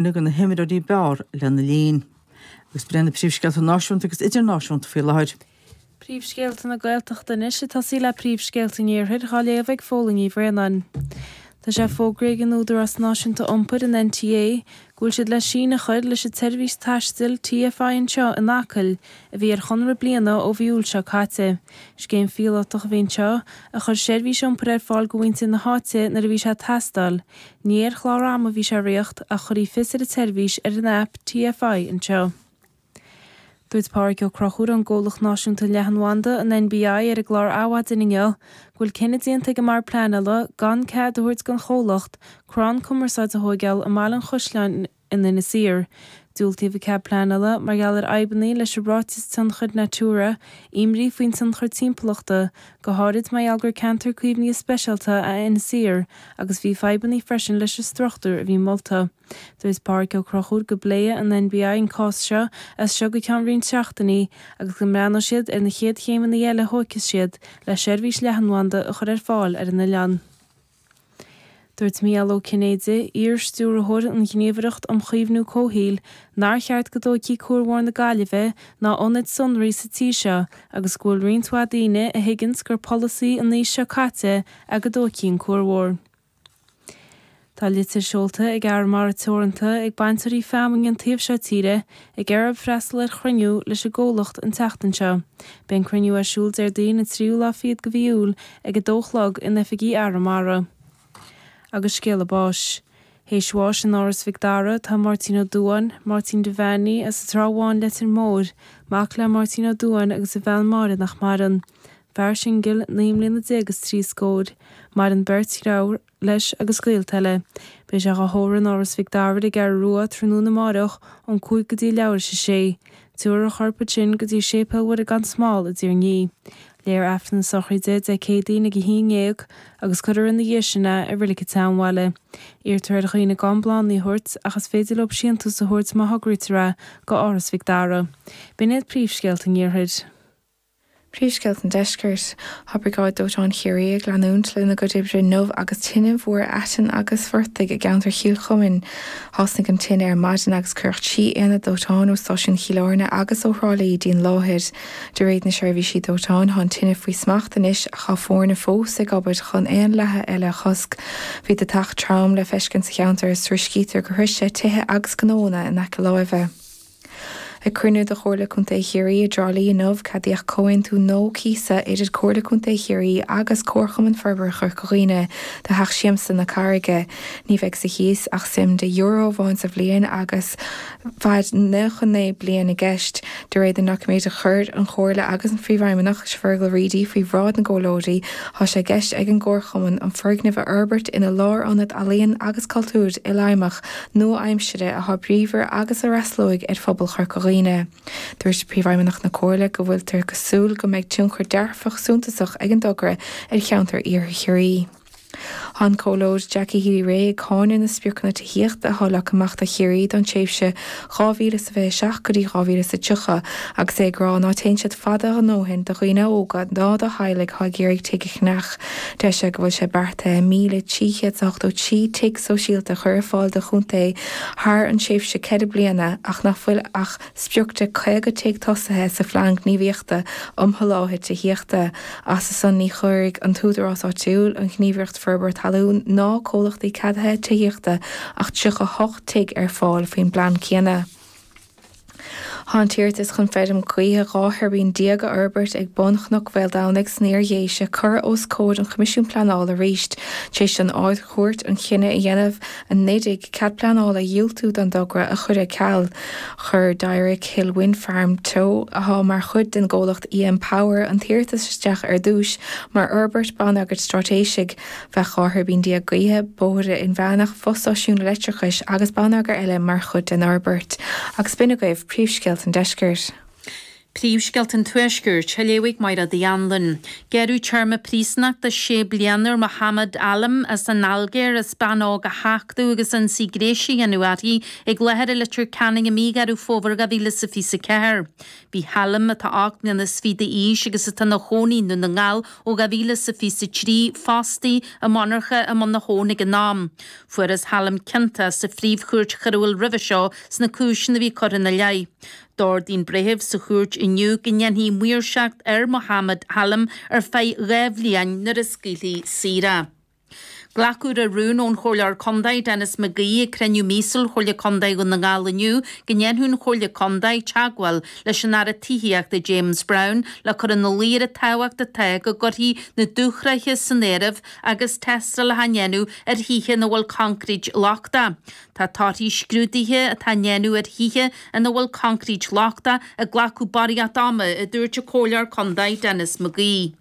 De na himreoirí b'fhearr lena linn. Agus b'in na príomhscéalta náisiúnta agus idirnáisiúnta faoi láthair. Príomhscéalta na Gaeltachta anois ag tosaí le príomhscéalta an Iarthair dhá léamh ag Fódhla Ní Bhraonáin. Tá sé fógraithe ag an Údarás Náisiúnta Iompair, an NTA, go bhfuil siad le síneadh a chur leis an tseirbhís taistil TFI Anseo in Acaill, a bhí ar chonradh bliana ó mhí Iúil seo caite. Scéim phíolótach a bhí anseo, a chuir seirbhís iompair ar fáil go mhuintir na háite nuair a bhí sé ag teastáil. Ní ar chlár ama a bhí sé ag ritheacht ach chuirfí fios ar an tseirbhís ar an aip TFI Anseo. Dúirt Pádraig Ó Conchúir ón gComhlacht Náisiúnta Leathanbhanda, an NBI, ar an gclár Adhmhaidin inniu go bhfuil cinneadh déanta ag an mBord Pleanála gan cead a thabhairt don chomhlacht crann cumarsáide a thóigeáil i mBaile an Chaisleáin in Inis Oírr. Diúltaíodh an cead pleanála mar gheall ar fhadhbanna leis an ráiteas tionchair Natura, imní faoin tionchar timpeallachta, go háirid mar gheall gur ceantar caomhnaithe speisialta é Inis Oírr agus bhí fadhbanna freisin leis an struchtúr a bhí molta. Dúirt Pádraig Ó Conchúir go bpléifidh an NBI an cás seo as seo go ceann roinnt seachtainí agus go mbreathnóidh siad ar na chéad chéimeanna eile a thógfas siad le seirbhís leathanbhanda a chur ar fáil ar an oileán. Dúirt Mícheál Ó Cinnéide, iar-stiúrthóir an Ghníomhaireacht um Chaomhnú Comhshaoil, nár cheart go dtógfaí Cuar Mhór na Gaillimhe ná ionaid sonraí sa tír seo agus go bhfuil roinnt mhaith daoine a thuigeanns gur polasaí an aois seo caite é go dtógfaí an Cuar Mhór. Tá litir seolta ag Arramara Teoranta ag bainteoirí feamainne an taobh seo tíre ag iarraidh orthu freastal ar chruinniú leis an gcomhlacht an tseachtain seo. Beidh an cruinniú ar siúl Déardaoin an tríú lá fichead de mhí Iúil ag 2 a chlog in oifigí Arramara. Agus scéala báis. Théis bháis in Áras Mhic Dara tá Máirtín Ó Dubháin, Máirtín Devaney, as an Trá Bháin, Leitir Móir, mac le Máirtín Ó Dubháin agus a bhean Máire nach maireann. Fear singil, 19 mbliana is 3 scór. Maireann beirt dhreabhar leis agus gaolta eile. Beidh sé dhá thórramh in Áras Mhic Dara ar an gCeathrú Rua tráthnóna amáireach ón 5 go dtí leathuair théis a sé. Tabharfar a chorp ansin go dtí Séipéal Mhuire gan Smál i dTír an Fhia. Léifear Aifreann na sochraide Dé Céadaoin ag 11 agus cuirfear ina dhiaidh sin é i Reilig an tSeanbhaile. Iarrtar ar dhaoine gan bláthanna a thabhairt ach is féidir leo síntiús a thabhairt má thograítear é go Áras Mhic Dara. B'in iad príomhscéalta an Iarthair. Príomhscéalta an Deiscirt. Tá Briogáid Dóiteáin Chiarraí ag leanúint lena gcuid oibre inniu agus tine mhór aiteann agus phortaigh i gceantar Chill Chuimín. Thosnaigh an tine ar maidin agus cuireadh 3 aonad dóiteáin ó stáisiún Chill Airne agus ó Thrá Lí dtí'n láthair. De réir na seirbhísí dóiteáin tá an tine faoi smacht anois ach tá foirne fós ag obair chun aon leathadh eile a chosc. Bhí deatach trom le feiscint sa cheantar is tuairiscítear gur shroich sé tithe agus gnóanna in aice láimhe. Ag cruinniú de Chomhairle Contae Chiarraí i dTrá Lí inniu, ceadaíodh comhaontú nua cíosa idir Comhairle Contae Chiarraí agus Comharchumann Forbartha Chorca Dhuibhne do Theach Siamsa na Carraige. Ní bheidh sa chíos ach suim de euro amháin sa bhliain agus fad 99 bliain i gceist. De réir na ndoiciméad a chuir an Chomhairle agus an Phríomhfheidhmeannach, Fergal Reidy, faoi bhráid na gcomhairleoirí, tá sé i gceist ag an gComharchumann an foirgneamh a fhorbairt ina lárionad ealaíon agus cultúir ilfheidhmeach nua-aimsire atá bríomhar agus a fhreastalóidh ar phobal Chorca Dhuibhne. Dúirt Príomhfheidhmeannach na Comhairle go bhfuiltear ag súil go mbeidh tionchar dearfach suntasach ag an dtogra ar cheantar Iarthar Chiarraí. Tá an Comhairleoir Jackie Healy-Rae ag cáineadh na spriocanna tithíochta atá leagtha amach do Chiarraí don tréimhse 2027 go dtí 2030 agus é ag rá ná téann siad fada a ndóthain do dhaoine óga ná do theaghlaigh atá ag iarraidh tigh a cheannach. Deir sé go bhfuil sé beartaithe 1,383 tigh sóisialta a chur ar fáil do chontae thar an tréimhse 4 bliana ach nach bhfuil ach sprioc de 50 tigh tosaithe sa Phlean Gníomhaíochta um Sholáthar Tithíochta. As san ní chuirfidh an t-údarás áitiúil, an Ghníomhaireacht Forbartha Talún ná comhlachtaí ceadaithe tithíochta ach 38 tigh ar fáil faoin bplean céanna. Tá an t-iarratas chun feirm gaoithe 12 thuirbín a fhorbairt ag bun Chnoc Mhaoldomhnaigh san Iar-Dhéise curtha os comhair an Choimisiúin Pleanála arís tar éis don Ard-Chúirt an cinneadh a dhéanamh anuraidh cead pleanála a dhiúltú don dtogra a chur ar ceal. Chuir Dyrick Hill Wind Farm Teo, atá mar chuid den gcomhlacht EM Power, an t-iarratas isteach ar dtús mar fhorbairt bonneagair straitéisigh. Bheadh 12 thuirbín gaoithe, bóithre inmheánach, fostáisiún leictreachais agus bonneagar eile mar chuid den fhorbairt. Agus b'in agaibh príomhscéalta an deiscirt. Príomhscéalta an Tuaiscirt, á léamh ag Máire Uí Anluain. Gearradh téarma príosúnachta sé bliana ar Mohamed Alim as an Ailgéir as bean óg a thachtadh agus ionsaí gnéis a dhéanamh uirthi ag láthair i Leitir Ceanainn i mí Dheireadh Fómhair 2024. Bhí Alim, atá 28 mbliana d'aois agus atá ina chónaí i nDún na nGall ó 2023, fostaithe i monarcha i mBun na hAbhann ag an am. Fuarthas Alim ciontach sa Phríomh-Chúirt Choiriúil roimhe seo sna cúiseanna a bhí curtha ina leith. D'ordaigh an breitheamh sa chúirt inniu go ndéanfaí maoirseacht ar Mohamed Alim ar feadh 2 bhliain nuair a scaoilfí saor é. Glacadh le rún ón Chomhairleoir Contae Denis McGee ag cruinniú míosúil Chomhairle Contae Dhún na nGall inniu go ndéanfadh an Chomhairle Contae teagmháil leis an Aire Tithíochta James Browne le cur ina luí ar an tábhacht atá go gcuirfí na dúshraithe san áireamh agus tástálacha á ndéanamh ar thithe ina bhfuil coincréit lochtach. Tá torthaí scrúduithe atá á ndéanamh ar thithe ina bhfuil coincréit lochtach ag glacadh barraíocht ama, a dúirt an Comhairleoir Contae Denis McGee.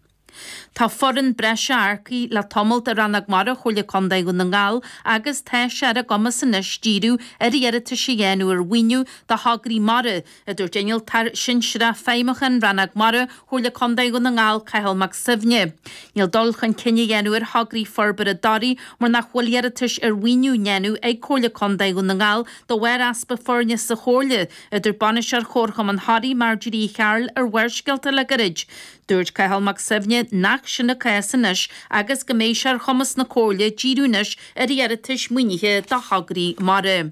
Tá foireann breise earcaithe le tamalt i Rannóg Mara Chomhairle Contae Dhún na nGall agus tá sé ar a gcumas anois díriú ar iarratais a dhéanamh ar mhaoiniú do thograí mara, a dúirt Innealtóir Sinsearach Feidhmiúcháin Rannóg Mara Chomhairle Contae Dhún na nGall, Cathal Mac Suibhne. Níl dul chun cinn á dhéanamh ar thograí forbartha daraí mar nach bhfuil iarratais ar mhaoiniú á ndéanamh ag Comhairle Contae Dhún na nGall de bharr easpa foirne sa Chomhairle, a dúirt Bainisteoir Chomharchumann Thoraí, Marjorie Uí Chearúil ar Bharrscéalta le gairid. Dúirt Cathal Mac Suibhne nach sin an cás anois agus go mbeidh sé ar chumas na Comhairle díriú anois ar iarratais maoinithe do thograí mara.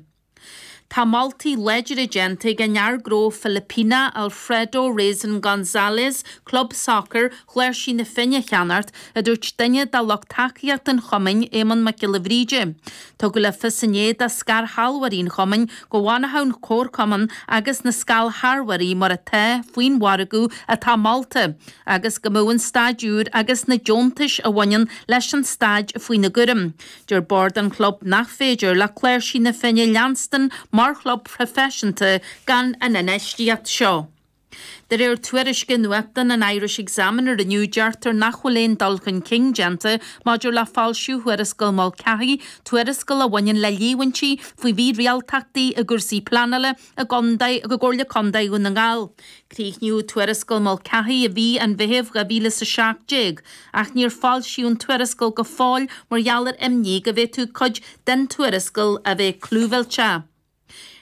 Tá moltaí láidre déanta ag an fhear gnó Filipíneach Alfredo Reyson Gonzales club sacair Chláirsigh na Finne a cheannacht, a dúirt duine de lucht tacaíochta an chumainn, Éamonn Mac Giolla Bhríde. Tugadh le fios inné do scairshealbhóirí an chumainn go bhfanfadh an comharchumann agus na scairshealbhóirí mar atá faoin mhargadh atá molta agus go mbeadh an staid úr agus na deontais a bhaineann leis an staid faoina gcúram. Deir bord an chlub nach féidir le Cláirsigh na Finne leanstan mar chlub proifisiúnta gan an infheistíocht seo. De réir tuairisce nuachtáin an Irish Examiner inniu deirtear nach bhfuil aon dul chun cinn déanta maidir le foilsiú Thuarascáil Mulcahy, tuarascáil a bhaineann le líomhaintí faoi mhírialtachtaí i gcúrsaí pleanála i gcontae i gComhairle Contae Dhún na nGall. Críochnaíodh Tuarascáil Mulcahy i mhí an Mheithimh 2017, ach níor foilsíodh an tuarascáil go fóill mar gheall ar imní go bhféadfadh cuid den tuarascáil a bheith clúmhillteach.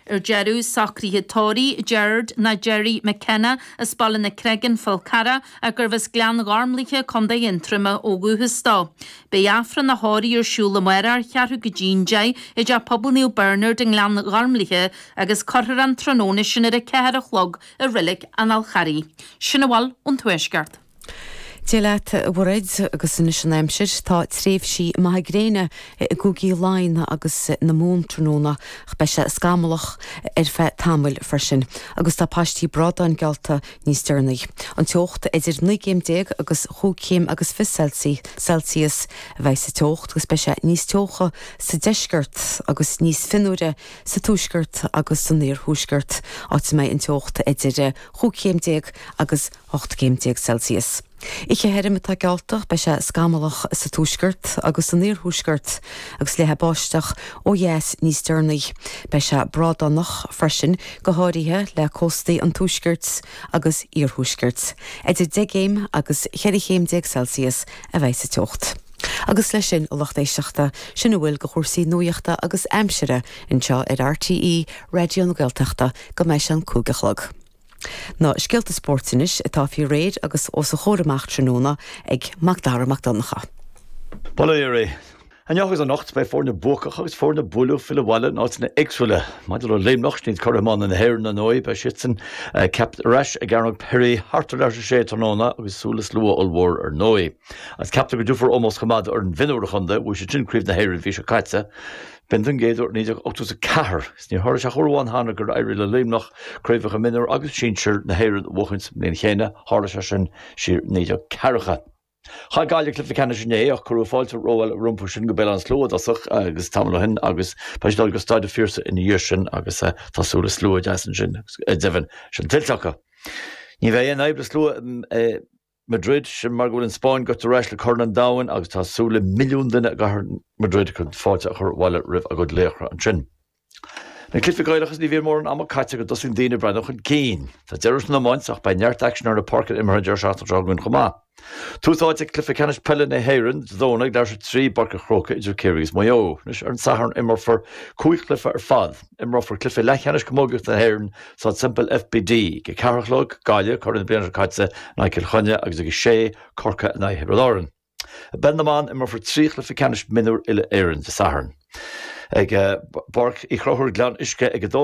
Ar deireadh, socruithe tórraimh Gerard nó Gerry McKenna as Baile na Creige, Fál Carrach, ach gurbh as Gleann Ghormlaithe, Co. Aontroma ó dhúchas dó. Beidh Aifreann a thórraimh ar siúl amárach, ceathrú go dtí an 10, i dTeach Pobail Naomh Bernard i nGleann Ghormlaithe agus cuirfear an tráthnóna sin ar a 4 a chlog i Reilig an Fhál Charraigh. Sin a bhfuil ón Tuaisceart. Dia leat, a Mhairéad, agus anois an aimsir. Tá tréimhsí maithe gréine i gcúigí Laighean agus na Mumhan tráthnóna ach beidh sé scamallach ar feadh tamaill freisin agus tá paistí bradáin geallta níos deireanaí. An teocht idir 19 gcéim agus chúig chéim agus fiche Celsius a bheidh sa teocht agus beidh sé níos teocha sa deisceart agus níos fionnuaire sa tuaisceart agus san iarthuaisceart, áit a mbeidh an teocht idir chúig chéim déag agus 18 gcéim Celsius. Oíche thirim atá geallta, beidh sé scamallach sa tuaisceart agus san iarthuaisceart agus leathfaidh báisteach ó dheas níos deireanaí. Beidh sé brádánach freisin, go háirithe le cóstaí an tuaiscirt agus iarthuaiscirt. Idir 10 gcéim agus 14 chéim Celsius a bheidh sa teocht. Agus leis sin, a lucht éisteachta, sin a bhfuil de chúrsaí nuachta agus aimsire anseo ar RTÉ Raidió na Gaeltachta go mbeidh sé an 5 a chlog. Na scéalta spóirt anois atá faoi réir agus os a chomhair amach tráthnóna ag Mac Dara Mac Donncha. Bail ó Dhia oraibh. Inniu agus anocht beidh foirne buacach agus foirne buaileadh ag filleadh abhaile in áiteanna éagsúla. Maidir le Luimneach, sin iad curaidh iomána na hÉireann ar ndóigh, beidh siadsan ceaptha ar ais ag Cearnóg Pery thart ar leathuair tar éis a sé tráthnóna agus súil le slua ollmhór ar ndóigh. Agus ceaptar go dtabharfar ómós chomh maith d'fhoireann mhionúir an chontae, bhuaigh siad sin Craobh na hÉireann an mhí seo caite. B'in don gcéad uair ó 1984. Is níor tharla sé ach uair amháin cheana gur éirigh le Luimneach craobhacha mionúr agus sinsir na hÉireann a bhuachaint sa mbliain chéanna, tharla sé sin siar i 1940. Chaill Gaillimh cluiche ceannais inné ach cuireadh fáilte rómhaith rompu sin go Béal Átha an tSlua i dtosach agus tamall ó shin agus beidh siad ag dul go Staid an Phiarsaigh ina dhiaidh sin agus tá súil le slua deas ansin agus deimhin sin tuillte acu. Ní bheidh aon fhadhb le slua i Madrid, sin mar go bhfuil an Spáinn gaibhte ar ais le Corn an Domhain agus tá súil le milliún duine i gcathair Madrid chun fáilte a chur abhaile roimh a gcuid laochra ansin. Na cluichí Gaelacha is ní bhíonn mórán ama caite go dtosaíonn daoine ag breathnú chun cinn. Tá deireadh san iomáint ach beidh neart aicsin ar na páirceanna imeartha an deireadh seachtaine seo chugainn chomh maith. Tús áite ag cluiche ceannais peile na hÉireann Dé Domhnaigh ag leathuair tar éis a 3 i bPáirc an Chrócaigh idir Ciarraí agus Maigh Eo. Anois ar an Satharn imreofar 5 chluiche ar fad. Imreofar cluiche leathcheannais camógaíochta na hÉireann sa Semple FBD ag a 4 a chlog, Gaillimh, curaidh na bliana seo caite, in aghaidh Chill Chainnigh agus ag a 6, Corcaigh in aghaidh Thiobraid Árann. I bpeil na mban, imreofar 3 chluiche ceannais mionúr uile-Éireann Dé Sathairn. Ag Páirc Uí Chonchúir, Gleann Uisce ag 2.